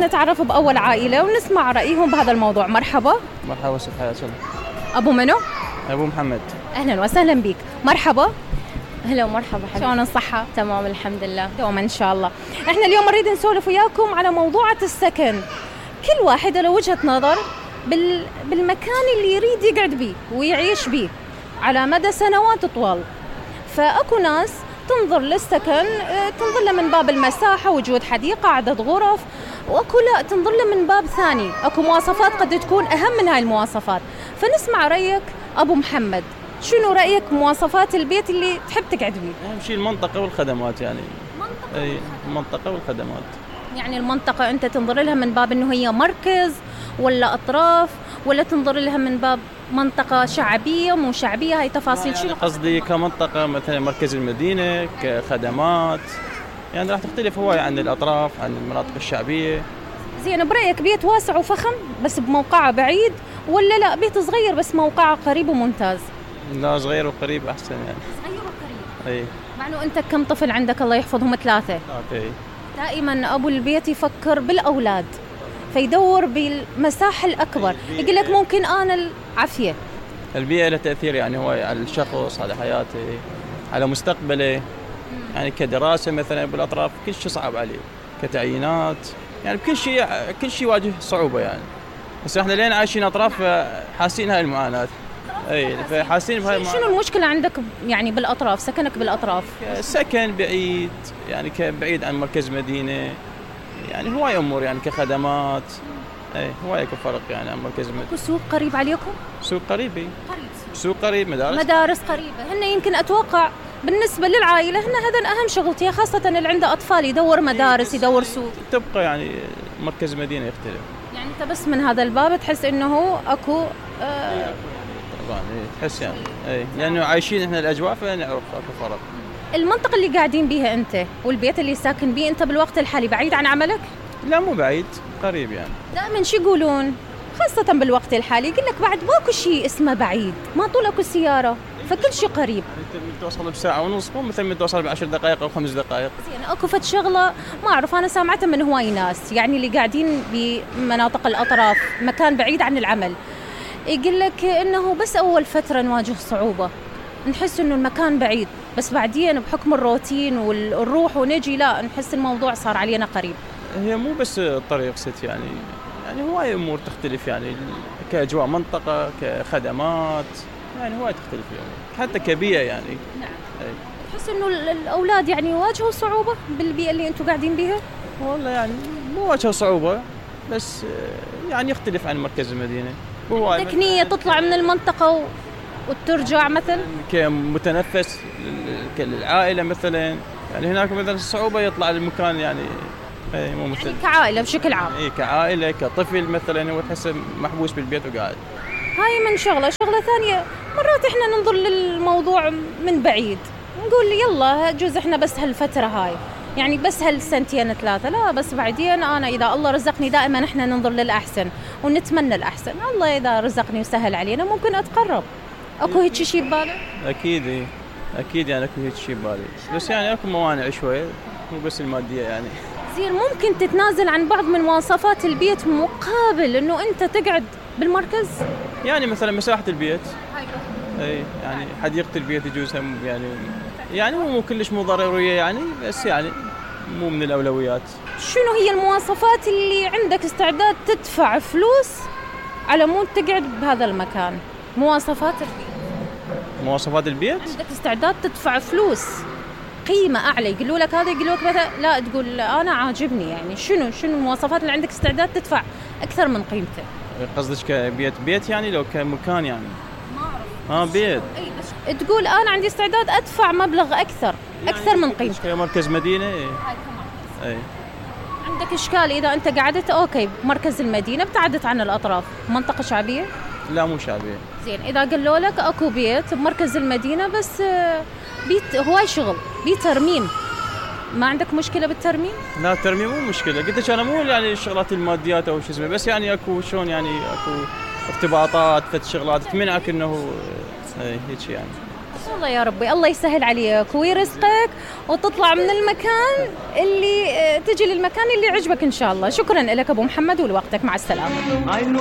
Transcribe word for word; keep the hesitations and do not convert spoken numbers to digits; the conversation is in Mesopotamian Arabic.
نتعرف بأول عائلة ونسمع رأيهم بهذا الموضوع. مرحبا. مرحبا ست حياة الله. أبو منو؟ أبو محمد. أهلا وسهلا بك. مرحبا. هلا ومرحبا حبيبي. شلون الصحة؟ تمام الحمد لله. دوما إن شاء الله. إحنا اليوم نريد نسولف وياكم على موضوع السكن. كل واحد له وجهة نظر بال... بالمكان اللي يريد يقعد بيه ويعيش بيه على مدى سنوات طوال. فأكو ناس تنظر للسكن تنظر له من باب المساحة، وجود حديقة، عدد غرف، وأكو لا تنظر له من باب ثاني، أكو مواصفات قد تكون أهم من هاي المواصفات. فنسمع رأيك أبو محمد، شنو رأيك مواصفات البيت اللي تحب تقعد بيه؟ أهم شيء المنطقة والخدمات يعني. منطقة أي المنطقة والخدمات. يعني المنطقة أنت تنظر لها من باب إنه هي مركز ولا أطراف، ولا تنظر لها من باب منطقة شعبية مو شعبية؟ هاي تفاصيل يعني شنو قصدي كمنطقة مثلا مركز المدينة كخدمات، يعني راح تختلف هواي عن الأطراف عن المناطق الشعبية. زين، برأيك بيت واسع وفخم بس بموقعه بعيد، ولا لا بيت صغير بس موقعه قريب وممتاز؟ لا، صغير وقريب أحسن يعني. صغير وقريب. أي. مع إنه أنت كم طفل عندك؟ الله يحفظهم ثلاثة. أوكي. دائما أبو البيت يفكر بالأولاد فيدور بالمساحة الأكبر، يقول لك ممكن أنا العافية. البيئة لها تأثير يعني هو على الشخص، على حياته، على مستقبله، يعني كدراسة مثلا بالأطراف كل شيء صعب عليه، كتعيينات، يعني بكل شيء كل شيء يواجه صعوبة يعني. بس احنا لين عايشين أطراف حاسين هاي المعاناة. اي فحاسين بهاي المعاناة. شنو المشكلة عندك يعني بالأطراف؟ سكنك بالأطراف؟ سكن بعيد يعني كبعيد عن مركز مدينة، يعني هواي أمور يعني كخدمات. اي هواي فرق يعني عن مركز مدينة. سوق قريب عليكم؟ سوق قريب. قريب سوق قريب، مدارس مدارس قريبة. هن يمكن أتوقع بالنسبة للعائلة هن هذا أهم شغلتها، خاصة اللي عنده أطفال يدور مدارس يدور سوق. تبقى يعني مركز مدينة يختلف. يعني أنت بس من هذا الباب تحس إنه أكو آه طبعا تحس يعني اي لأنه عايشين إحنا الأجواء فنعرف أكو فرق. المنطقة اللي قاعدين بيها أنت والبيت اللي ساكن بيه أنت بالوقت الحالي بعيد عن عملك؟ لا مو بعيد، قريب يعني. دائما شو يقولون خاصة بالوقت الحالي، يقول لك بعد ماكو شيء اسمه بعيد، ما طول اكو سيارة فكل شيء قريب. انت توصل بساعة ونص مو مثل توصل بعشر دقائق أو خمس دقائق. زين، اكو فد شغلة ما أعرف أنا سامعتها من هواي ناس يعني اللي قاعدين بمناطق الأطراف مكان بعيد عن العمل، يقول لك إنه بس أول فترة نواجه صعوبة، نحس إنه المكان بعيد، بس بعدين بحكم الروتين والروح ونجي لا نحس الموضوع صار علينا قريب. هي مو بس الطريق ست يعني يعني هواي أمور تختلف يعني كأجواء منطقة كخدمات، يعني هواي تختلف يعني حتى كبيئة يعني. نعم. تحس إنه الأولاد يعني يواجهوا صعوبة بالبيئة اللي أنتم قاعدين بيها؟ والله يعني مو واجهوا صعوبة بس يعني يختلف عن مركز المدينة. عندك نية تطلع من المنطقة و... وترجع مثلا؟ كمتنفس كالعائلة مثلا، يعني هناك مثلا الصعوبة يطلع للمكان يعني اي مو مثل يعني كعائلة بشكل عام. اي كعائلة كطفل مثلا هو تحسه محبوس بالبيت وقاعد. هاي من شغلة. شغلة ثانية مرات احنا ننظر للموضوع من بعيد، نقول يلا جوز احنا بس هالفترة هاي يعني بس هالسنتين ثلاثة، لا بس بعدين انا اذا الله رزقني دائما احنا ننظر للأحسن ونتمنى الأحسن، الله اذا رزقني وسهل علينا ممكن اتقرب. اكو هيك شيء ببالك؟ اكيد ايه اكيد يعني اكو هيك شيء ببالي، بس يعني اكو موانع شوي مو بس المادية يعني. زين، ممكن تتنازل عن بعض من مواصفات البيت مقابل انه انت تقعد بالمركز؟ يعني مثلا مساحة البيت اي يعني حديقة البيت يجوز هم يعني يعني مو كلش مو ضرورية يعني، بس يعني مو من الأولويات. شنو هي المواصفات اللي عندك استعداد تدفع فلوس على مود تقعد بهذا المكان؟ مواصفات البيت. مواصفات البيت عندك استعداد تدفع فلوس قيمة أعلى، يقولوا لك هذا، يقولوا لك مثلا لا تقول أنا عاجبني، يعني شنو شنو المواصفات اللي عندك استعداد تدفع أكثر من قيمته؟ قصدك كبيت بيت يعني لو كمكان يعني؟ ما أعرف. اه بيت. أي بس تقول أنا عندي استعداد أدفع مبلغ أكثر أكثر يعني من قيمته. كمركز مدينة. هاي كمركز. أي. عندك إشكال إذا أنت قعدت أوكي بمركز المدينة ابتعدت عن الأطراف، منطقة شعبية؟ لا مو شعبية. زين، إذا قالوا لك أكو بيت بمركز المدينة بس بيت هواي شغل بيت ترميم، ما عندك مشكلة بالترميم؟ لا الترميم مو مشكلة، قلت لك أنا مو يعني الشغلات الماديات أو شو اسمه، بس يعني أكو شلون يعني أكو ارتباطات فت شغلات تمنعك إنه هيك يعني. شاء الله يا ربي، الله يسهل عليك ويرزقك وتطلع من المكان اللي تجي للمكان اللي يعجبك إن شاء الله. شكرا لك أبو محمد ولوقتك، مع السلامة.